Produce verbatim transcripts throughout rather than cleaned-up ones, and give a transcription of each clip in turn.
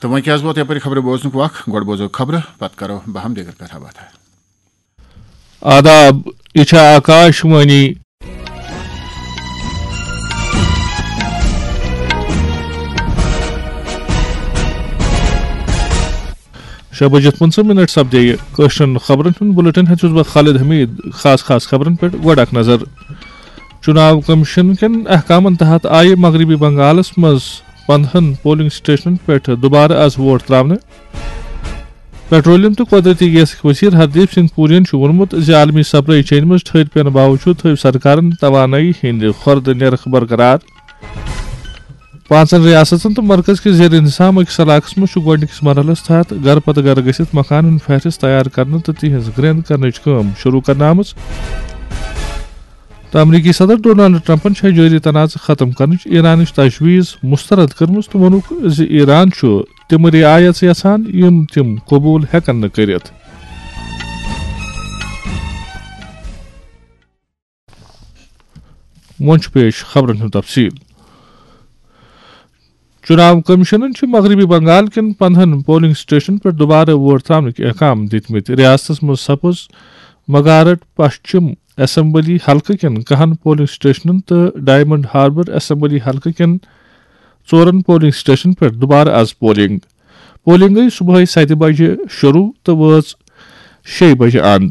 تہٕ وۄنۍ کیٛاہ حظ ووت یَپٲرۍ خبرٕ بوزنُک وق؟ گۄڈٕ بوزو خبرٕ، پتہٕ کرو بہم دیگر کتھا باتھا۔ آداب، یہِ چھےٚ آکاش وانی۔ شےٚ بجِتھ پٕنٛژٕہ منٹ سپدے یہِ کٲشرٮ۪ن خبرن ہُنٛد بُلٹن۔ ہیٚژٕس بہٕ خالد حمید۔ خاص خاص خبرن پٮ۪ٹھ گۄڈٕ اکھ نظر۔ چُناو کمیشن کٮ۪ن احکامن تحت آیہِ مغربی بنگالس منٛز پندہن پولنگ سٹیشنن پٮ۪ٹھ دُبارٕ از ووٹ تراونہٕ۔ پیٹرولیم تہٕ قۄدرٔتی گیسٕکۍ وزیر ہردیپ سنگھ پوریَن چھُ ووٚنمُت زِ عالمی سپلائی چینہِ منٛز ٹھٔہر پینہٕ باوجوٗد تھٲوۍ سرکارن توانٲیی ہٕنٛدِ خۄردٕ نرخ برقرار۔ پانٛژن ریاستن تہٕ مرکز کِس زیر انتظام أکِس علاقس منٛز چھُ گۄڈٕنِکِس مرحلس تحت گرٕ پتہٕ گرٕ گٔژھِتھ مکانن ہُنٛد فہرست تیار کرنہٕ تہٕ تِہنٛز گرٛینٛد کرنٕچ کٲم شروع کرنہٕ آمٕژ۔ تہٕ امریکی صدر ڈونلڈ ٹرمپن چھےٚ جٲری تنازٕ ختم کرنٕچ ایرانٕچ تجویز مسترد کٔرمٕژ تہٕ ووٚنُکھ زِ ایران چھُ تِم رعایژٕ یژھان یِم تِم قبول ہٮ۪کن نہٕ کٔرِتھ۔ وۄنۍ چھُ پیش خبرن ہُنٛد تفصیل۔ چُناو کمیشنن چھِ مغربی بنگال کٮ۪ن پندہن پولنگ سٹیشنن پٮ۪ٹھ دُبارٕ ووٹ تراونٕکۍ احکام دِتمٕتۍ۔ ریاستس منٛز سپٕز مغارٹ پشچم اسمبلی حلقہٕ کٮ۪ن کہن پولنگ سٹیشنن تہٕ ڈائمنڈ ہاربر اسمبلی حلقہٕ کٮ۪ن ژورن پولنگ سٹیشنن پٮ۪ٹھ دُبارٕ از پولنگ۔ پولنگ گٔیہِ صبحٲے ستہِ بجہِ شروع تہٕ وٲژ شیٚیہِ بجہِ اند۔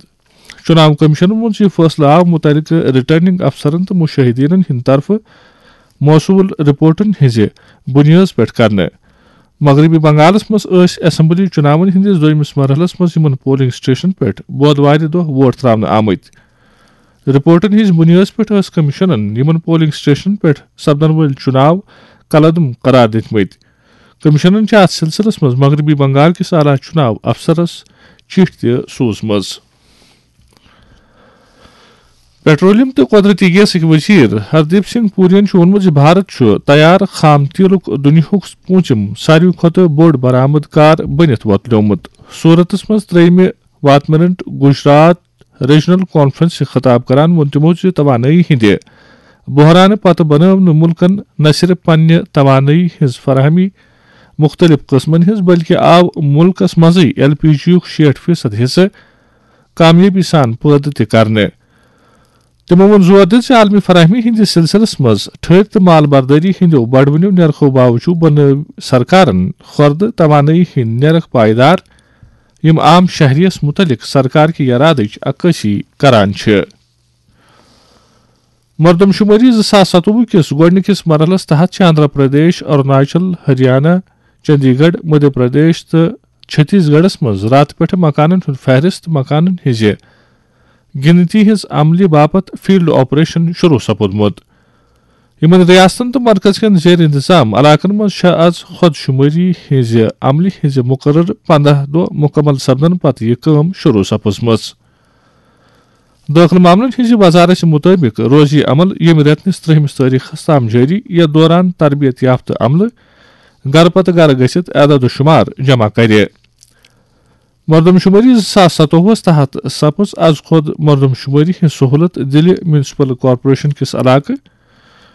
چُناو کمیشنن ووٚن زِ یہِ فٲصلہٕ آو مُتعلقہٕ ریٹرننگ افسرن تہٕ مُشٲہدیٖنن ہٕنٛدِ طرفہٕ موصوٗل رپورٹن ہٕنٛزِ بُنیٲدس پٮ۪ٹھ کرنہٕ۔ مغربی بنگالس منٛز ٲسۍ اسمبلی چُناون ہٕنٛدِس دوٚیمِس مرحلس منٛز یِمن پولنگ سٹیشنن پٮ۪ٹھ بۄدوارِ دۄہ ووٹ تراونہٕ آمٕتۍ۔ رپورٹن ہٕنٛزِ بُنیٲدس پٮ۪ٹھ ٲس کمیشنن یِمن پولنگ سٹیشنن پٮ۪ٹھ سپدن وٲلۍ چُناو کلعدم قرار دِتمٕتۍ۔ کمیشنن چھِ اتھ سلسلس منٛز مغربی بنگال کِس اعلیٰ چُناو افسرس چِٹھۍ تہِ سوٗزمٕژ۔ پیٹرولیم تہٕ قۄدرٔتی گیسٕکۍ وزیر ہردیپ سنگھ پوریَن چھُ ووٚنمُت زِ بھارت چھُ تیار خام تیلُک دُنیاہُک پوٗنٛژِم ساروی کھۄتہٕ بوٚڑ برآمد کار بٔنِتھ وۄتلیومُت۔ سورتس منٛز ترٛیٚیِمہِ واتمنٹ گجرات ریجنل کانفرنسہِ خطاب کران ووٚن تِمو زِ توانٲیی ہٕنٛدِ بحرانہٕ پتہٕ بنٲو نہٕ مُلکن نہ صرف پننہِ توانٲیی ہٕنٛز فراہمی مُختٔلِف قٕسمن ہٕنٛز، بلکہِ آو مُلکس منٛزٕے ایل پی جی یُک شیٹھ فیصد حصہٕ کامیٲبی سان پٲدٕ تہِ کرنہٕ۔ تِمو ووٚن زور دِتھ زِ عالمی فراہمی ہٕنٛدِس سلسلس منٛز ٹھٔہرۍ تہٕ مال بردٲری ہٕنٛدیو بڑوٕنیو نرخو باوجوٗد بنٲو سرکارن خۄردٕ توانٲیی ہٕنٛدۍ نرخ پائیدار، یِم عام شہریَس مُتعلق سرکار کہِ یرادٕچ عکٲسی کران چھِ۔ مردم شمٲری زٕ ساس ستووُہ کِس گۄڈٕنِکِس مرحلَس تحت چھِ آندھرا پردیش، اروناچل، ہریانہ، چندی گڑھ، مدھیہ پردیش تہٕ چھتیس گڑھس منٛز راتہٕ پٮ۪ٹھٕ مکانن ہُنٛد فہرست، مکانن ہٕنٛزِ گِنتی ہٕنٛز عملہِ باپتھ فیلڈ آپریشن شروع سپُدمُت۔ یِمن ریاستن تہٕ مرکز کٮ۪ن زیر انتظام علاقن منٛز چھےٚ از خۄد شمٲری ہٕنٛزِ عملہِ ہٕنٛزِ مُقرر پنداہ دۄہ مُکمل سپدن پتہٕ یہِ کٲم شروع سپٕزمٕژ۔ دٲخلہٕ معاملن ہٕنٛزِ وزارتہِ مُطٲبِق روزِ یہِ عمل ییٚمہِ رٮ۪تہٕ نِس ترٛہمِس تٲریخس تام جٲری، یتھ دوران تربیت یافتہٕ عملہٕ گرٕ پتہٕ گرٕ گٔژھِتھ اعداد و شُمار جمع کرِ۔ مردم شمٲری زٕ ساس ستووُہس تحت سپٕز از خۄد مردم شمٲری ہٕنٛز سہولت دِلہِ میونسپل کارپوریشن کِس علاقہٕ